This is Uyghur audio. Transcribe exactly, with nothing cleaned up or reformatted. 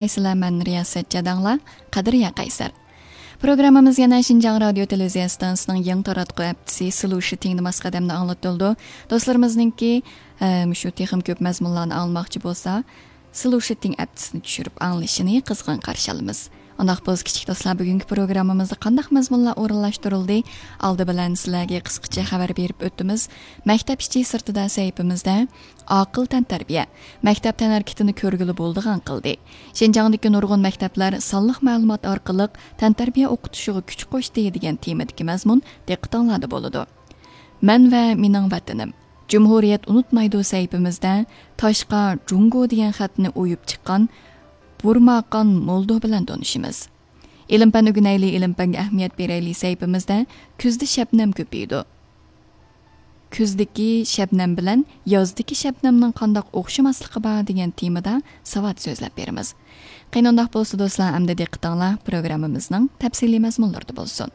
ئەسسالامۇ ئەلەيكۇم، مەن رىياسەت جاداڭلا، قەدرىيە قەيسەر. پروگراممىمىز يەنە شىنجاڭ رادىيو تېلېۋىزىيە ئىستانسىسىنىڭ يېڭى تاراتقۇ ھەپتىسى سىلۇشىتىڭدا ماس قەدەمدە ئاڭلىتىلىدۇ. دوستلىرىمىزنىڭكى، ئە، مۇشۇ تېخىمۇ كۆپ مەزمۇنلارنى ئاڭلىماقچى بولسا، سىلۇشىتىڭ ئەپتىسىنى چۈشۈرۈپ ئاڭلىشىنى قىزغىن قارشى ئالىمىز. ئۇنداق بولسا، كىچىك دوستلار، بۈگۈنكى پروگراممىمىزدا قانداق مەزمۇنلار ئورۇنلاشتۇرۇلدى؟ ئالدى بىلەن سىلەرگە قىسقىچە خەۋەر بېرىپ ئۆتىمىز. مەكتەپ ئىچى سىرتىدا سەھىپىمىزدە ئاقىل تەنتەربىيە، مەكتەپ تەنھەرىكىتىنى كۆرگىلى بولىدىغان قىلدى. شىنجاڭدىكى نۇرغۇن مەكتەپلەر سانلىق مەلۇمات ئارقىلىق تەنتەربىيە ئوقۇتۇشىغا كۈچ قوشتى دېگەن تېمىدىكى مەزمۇن دىققىتىڭلاردا بولىدۇ. مەن ۋە مېنىڭ ۋەتىنىم. جۇمھۇرىيەت ئۇنتۇمايدۇ سەھىپىمىزدە تاشقا جۇڭگو دېگەن خەتنى ئويۇپ چىققان بۇرماقان مولدو بىلەن تونۇشىمىز. ئىلىم-پەن ئۆگىنەيلى، ئىلىم-پەنگە ئەھمىيەت بېرەيلى سەھىپىمىزدە كۈزدە شەبنەم كۆپىيىدۇ. كۈزدىكى شەبنەم بىلەن يازدىكى شەبنەمنىڭ قانداق ئوخشىماسلىقى بار دېگەن تېمىدا ساۋات سۆزلەپ بېرىمىز. قېنى ئۇنداق بولسا دوستلار، ئەمدى دىققىتىڭلار پروگراممىمىزنىڭ تەپسىلىي مەزمۇنلىرىدا بولسۇن.